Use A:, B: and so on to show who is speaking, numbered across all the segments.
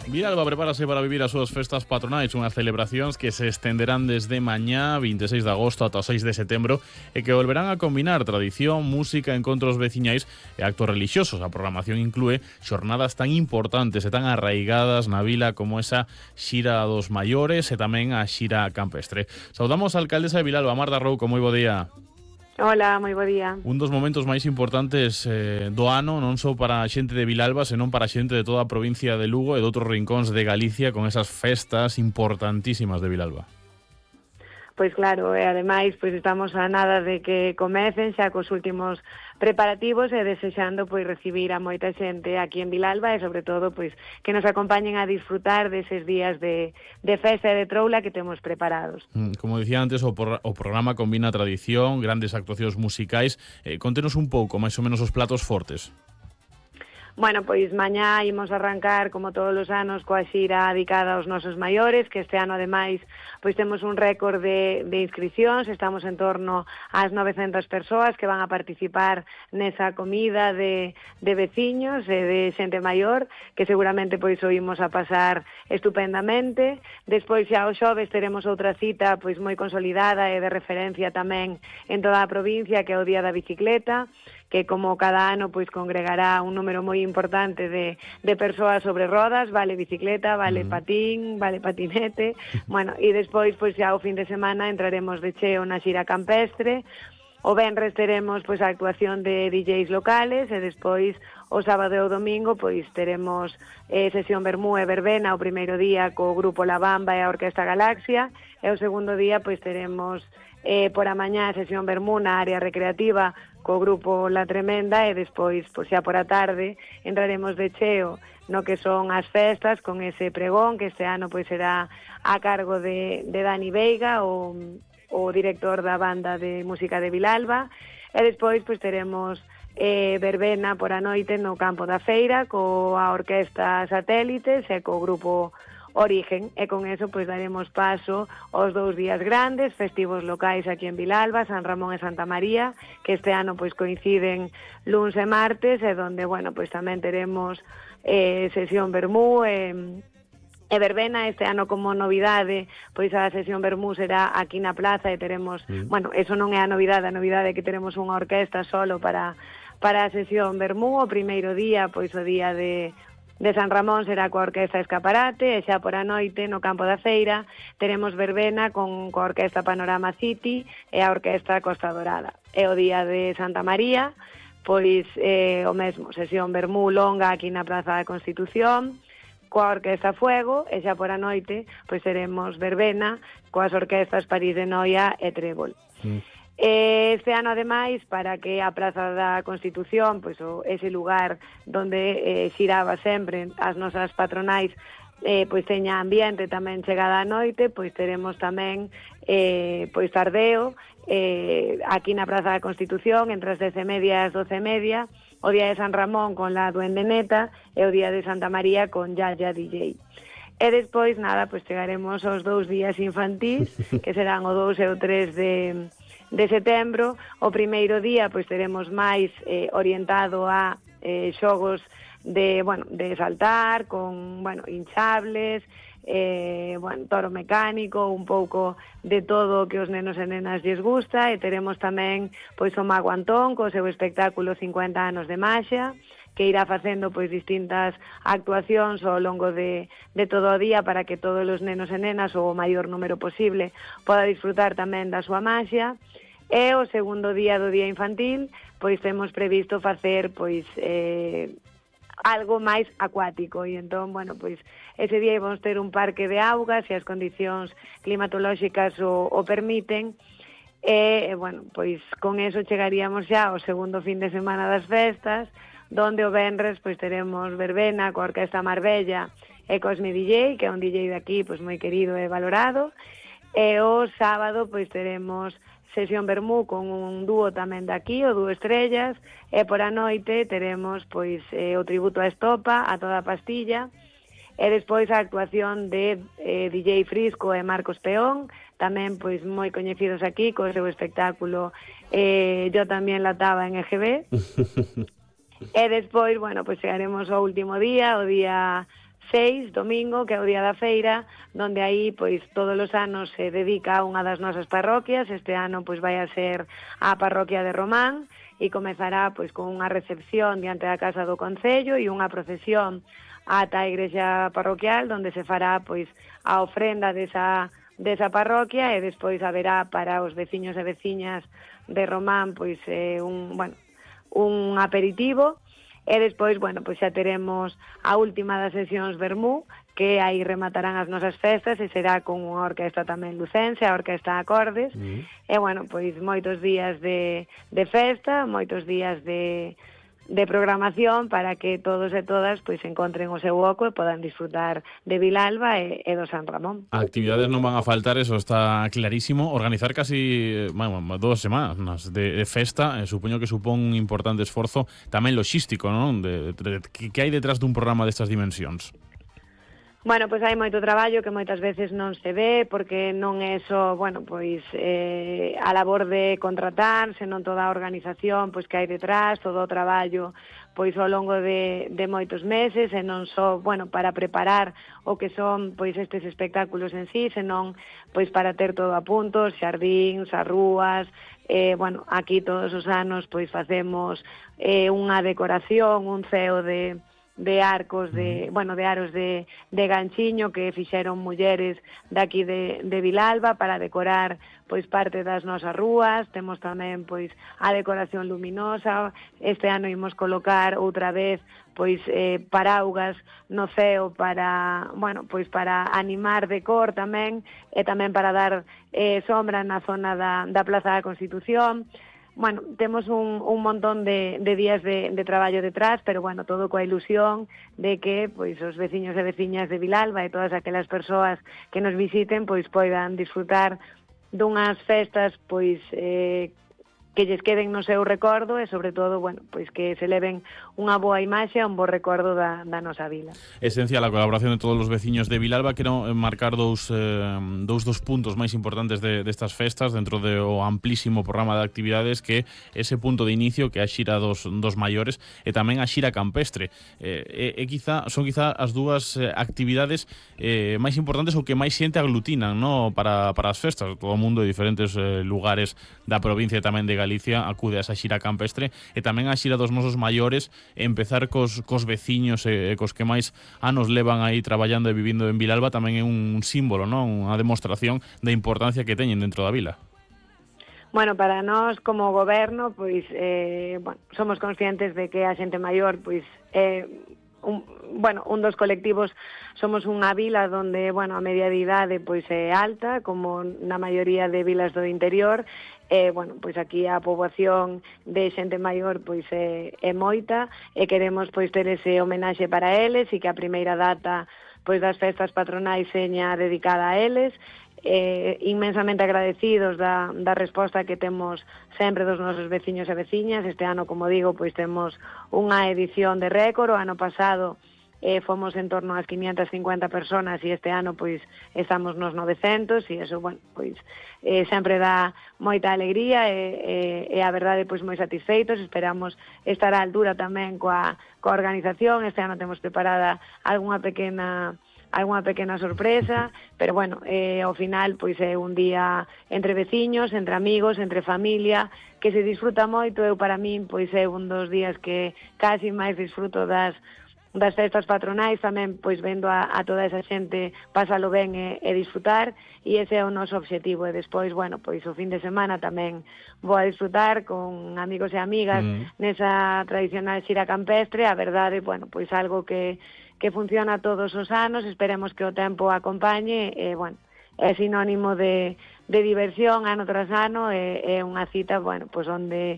A: Vilalba prepárase para vivir as súas festas patronais, unhas celebracións que se estenderán desde mañá 26 de agosto ata o 6 de setembro e que volverán a combinar tradición, música, encontros veciñais e actos relixiosos. A programación inclúe xornadas tan importantes e tan arraigadas na vila como esa xira dos maiores e tamén a xira campestre. Saudamos a alcaldesa de Vilalba, Marta Rouco, moi bo día.
B: Hola, moi bo día.
A: Un dos momentos máis importantes do ano, non só para a xente de Vilalba, senón para a xente de toda a provincia de Lugo e de outros rincóns de Galicia con esas festas importantísimas de Vilalba.
B: Pois claro, e ademais pois estamos a nada de que comecen xa cos últimos preparativos e desexando pois recibir a moita xente aquí en Vilalba e sobre todo pois que nos acompañen a disfrutar deses días de festa e de troula que temos preparados.
A: Como dicía antes, o programa combina tradición, grandes actuacións musicais. Contenos un pouco, máis ou menos, os platos fortes.
B: Bueno, pois mañá imos arrancar, como todos os anos, coa xira dedicada aos nosos maiores, que este ano, ademais, pois temos un récord de inscripcións, estamos en torno ás 900 persoas que van a participar nesa comida de veciños e de xente maior, que seguramente pois o imos a pasar estupendamente. Despois xa o xoves teremos outra cita pois moi consolidada e de referencia tamén en toda a provincia, que é o Día da Bicicleta, que como cada ano pois congregará un número moi importante de persoas sobre rodas, vale bicicleta, vale patín, vale patinete, bueno, e despois pois xa o fin de semana entraremos de cheo na xira campestre. O venres teremos pois a actuación de DJs locales e despois o sábado e o domingo pois teremos sesión vermú e verbena o primeiro día co grupo La Bamba e a Orquesta Galaxia e o segundo día pois teremos por a mañá sesión vermú na área recreativa co grupo La Tremenda e despois, pois xa por a tarde, entraremos de cheo no que son as festas con ese pregón que este ano pois será a cargo de Dani Veiga, o director da banda de música de Vilalba, e despois pois teremos verbena por a noite no campo da feira coa Orquesta Satélites e co grupo Origen, e con eso pois daremos paso aos 2 días grandes, festivos locais aquí en Vilalba, San Ramón e Santa María, que este ano pois coinciden luns e martes, e donde, bueno, pois tamén teremos sesión vermú e verbena. Este ano como novidade, pois a sesión vermú será aquí na plaza e teremos, bueno, eso non é a novidade é que teremos unha orquesta solo para a sesión vermú. O primeiro día, pois o día de San Ramón será coa Orquesta Escaparate e xa por a noite no campo da feira teremos verbena coa Orquesta Panorama City e a Orquesta Costa Dorada. E o día de Santa María, pois o mesmo, sesión vermú longa aquí na Praza da Constitución coa Orquesta Fuego e xa por a noite pois teremos verbena coas orquestas París de Noia e Trébol. Este ano, ademais, para que a Praza da Constitución, pois ese lugar donde xiraba sempre as nosas patronais, pois teña ambiente tamén chegada a noite, pois teremos tamén pois tardeo aquí na Praza da Constitución entre as 10:30 e as 12:30, o día de San Ramón con la Duende Neta e o día de Santa María con Yaya DJ. E despois, nada, pois chegaremos aos 2 días infantís, que serán o 2 e o 3 de setembro. O primeiro día pois teremos máis orientado a xogos de saltar con, hinchables, toro mecánico, un pouco de todo o que os nenos e nenas lles gusta, e teremos tamén pois o Mago Antón co seu espectáculo 50 anos de maxia, que irá facendo pois distintas actuacións ao longo de todo o día para que todos os nenos e nenas, ou o maior número posible, poda disfrutar tamén da súa maxia. E o segundo día do día infantil, pois temos previsto facer pois algo máis acuático, e entón, bueno, pois ese día vamos ter un parque de augas se as condicións climatolóxicas o permiten. E, bueno, pois con eso chegaríamos xa ao segundo fin de semana das festas, donde o venres pois teremos verbena coa Orquesta Marbella e Cosmi DJ, que é un DJ de aquí pois moi querido e valorado, e o sábado pois teremos sesión vermú con un dúo tamén de aquí, o Dúo Estrellas, e por a noite teremos pois o tributo a Estopa, a Toda a Pastilla, e despois a actuación de DJ Frisco e Marcos Peón, tamén pois moi coñecidos aquí co seu espectáculo Yo tamén lataba en EGB. E despois, bueno, pois chegaremos ao último día, o día 6, domingo, que é o día da feira, donde aí pois todos os anos se dedica a unha das nosas parroquias. Este ano pois vai a ser a parroquia de Román e comezará pois con unha recepción diante da Casa do Concello e unha procesión ata a igrexa parroquial, donde se fará pois a ofrenda desa parroquia, e despois haberá para os veciños e veciñas de Román pois un aperitivo. E despois, pois xa teremos a última das sesións Vermú, que aí rematarán as nosas festas, e será con unha orquesta tamén lucense, a Orquesta Acordes. E, pois moitos días de festa, moitos días de programación para que todos e todas pois encontren o seu oco e podan disfrutar de Vilalba e do San Ramón.
A: Actividades non van a faltar, eso está clarísimo. Organizar casi 2 semanas de festa, supoño que supón un importante esforzo tamén logístico, non? Que hai detrás dun programa destas dimensións?
B: Pois hai moito traballo que moitas veces non se ve, porque non é só, a labor de contratar, senón toda a organización pois que hai detrás, todo o traballo pois ao longo de moitos meses, e non só, para preparar o que son pois estes espectáculos en sí, senón pois para ter todo a punto, os xardíns, as rúas. Aquí todos os anos pois facemos unha decoración, un ceo de arcos, de aros de ganchiño que fixeron mulleres daqui de Vilalba para decorar pois parte das nosas rúas. Temos tamén pois a decoración luminosa. Este ano imos colocar outra vez pois paraugas no ceo para, para animar de cor tamén, e tamén para dar sombra na zona da Plaza da Constitución. Temos un montón de días de traballo detrás, pero todo coa ilusión de que pois os veciños e veciñas de Vilalba e todas aquelas persoas que nos visiten pois poidan disfrutar dunhas festas pois que lles queden no seu recordo, e sobre todo, pois que se leven unha boa imaxe, un bo recordo da nosa vila.
A: Esencial a colaboración de todos os veciños de Vilalba. Quero marcar dous puntos máis importantes destas festas dentro do amplísimo programa de actividades, que ese punto de inicio, que é a xira dos maiores, e tamén a xira campestre. Son quizá as dúas actividades máis importantes, ou que máis xente aglutinan, no, para as festas. Todo o mundo de diferentes lugares da provincia e tamén de Galicia acude a esa xira campestre, e tamén a xira dos nosos maiores, empezar cos veciños e cos que máis anos levan aí traballando e vivindo en Vilalba, tamén é un símbolo, non? Unha demostración da importancia que teñen dentro da vila.
B: Para nós como goberno, pois somos conscientes de que a xente maior pois un dos colectivos. Somos unha vila donde, a media de idade pois é alta, como na maioría de vilas do interior. Pois aquí a poboación de xente maior pois é moita, e queremos pois ter ese homenaxe para eles, e que a primeira data pois das festas patronais seña dedicada a eles. Inmensamente agradecidos da resposta que temos sempre dos nosos veciños e veciñas. Este ano, como digo, pois temos unha edición de récord. O ano pasado fomos en torno ás 550 personas, e este ano pois estamos nos 900, e eso, pois sempre dá moita alegría, e a verdade pois moi satisfeitos. Esperamos estar á altura tamén coa organización. Este ano temos preparada algunha pequena sorpresa, pero ao final pois é un día entre veciños, entre amigos, entre familia, que se disfruta moito. Para min pois é un dos días que casi máis disfruto das festas patronais, tamén pois vendo a toda esa xente pasalo ben e disfrutar, e ese é o noso obxectivo. E despois, pois o fin de semana tamén vou a disfrutar con amigos e amigas nesa tradicional xira campestre. A verdade, pois algo que funciona todos os anos. Esperemos que o tempo acompañe, é sinónimo de diversión ano tras ano, é unha cita, pois onde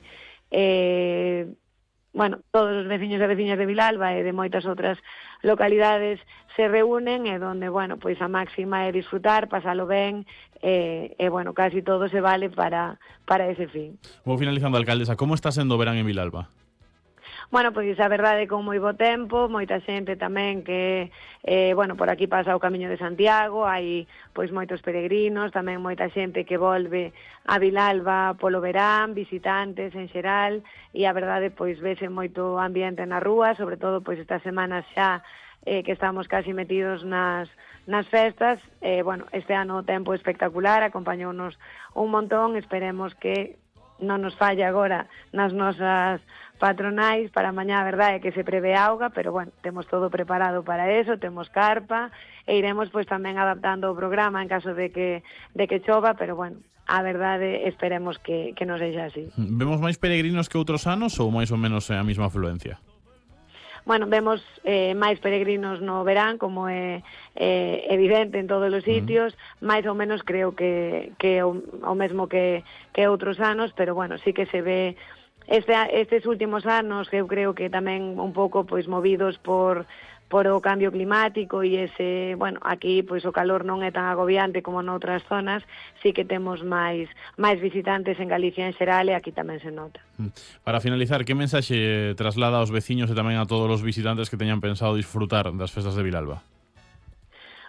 B: todos os veciños e veciñas de Vilalba e de moitas outras localidades se reúnen, e donde, pois a máxima é disfrutar, pasalo ben, e casi todo se vale para ese fin.
A: Vou finalizando, alcaldesa, como está sendo o verán en Vilalba?
B: Pois a verdade, con moi bo tempo, moita xente tamén que, por aquí pasa o Camiño de Santiago, hai pois moitos peregrinos, tamén moita xente que volve a Vilalba polo verán, visitantes en xeral, e a verdade, pois vese moito ambiente na rúa, sobre todo pois estas semanas xa que estamos casi metidos nas festas. Bueno, este ano o tempo espectacular, acompañounos un montón, esperemos que non nos falle agora nas nosas patronais. Para mañá a verdade é que se prevé auga, pero bueno, temos todo preparado para eso, temos carpa e iremos pois tamén adaptando o programa en caso de que chova, pero bueno, a verdade esperemos que non sexa así.
A: Vemos máis peregrinos que outros anos ou máis ou menos a mesma afluencia?
B: Bueno, vemos máis peregrinos no verán, como é evidente en todos os sitios, máis ou menos creo que o mesmo que outros anos, pero bueno, sí que se ve estes últimos anos, que eu creo que tamén un pouco pois movidos por o cambio climático e ese, bueno, aquí pois o calor non é tan agobiante como noutras zonas, sí que temos máis visitantes en Galicia en xeral e aquí tamén se nota.
A: Para finalizar, que mensaxe traslada aos veciños e tamén a todos os visitantes que teñan pensado disfrutar das festas de Vilalba?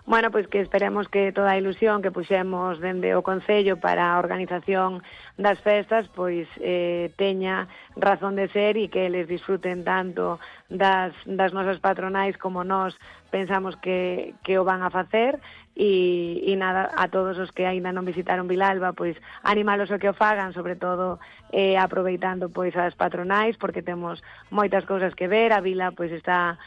B: Bueno, pois que esperemos que toda a ilusión que puxemos dende o Concello para a organización das festas pois teña razón de ser e que eles disfruten tanto das nosas patronais como nós pensamos que o van a facer. E nada, a todos os que aínda non visitaron Vilalba, pois animalos a que o fagan, sobre todo aproveitando pois as patronais, porque temos moitas cousas que ver. A vila pois está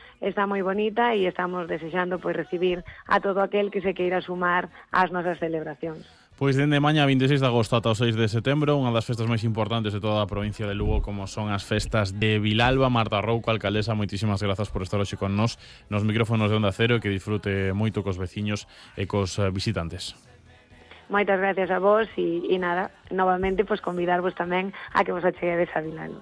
B: moi bonita e estamos desexando pois recibir a todo aquel que se queira sumar ás nosas celebracións.
A: Pois dende mañá 26 de agosto ata o 6 de setembro, unha das festas máis importantes de toda a provincia de Lugo, como son as festas de Vilalba. Marta Rouco, alcaldesa, moitísimas grazas por estar hoxe con nos micrófonos de Onda Cero, e que disfrute moito cos veciños e cos visitantes.
B: Moitas gracias a vos e nada, novamente pois convidarvos tamén a que vos acheguedes a Vilalba.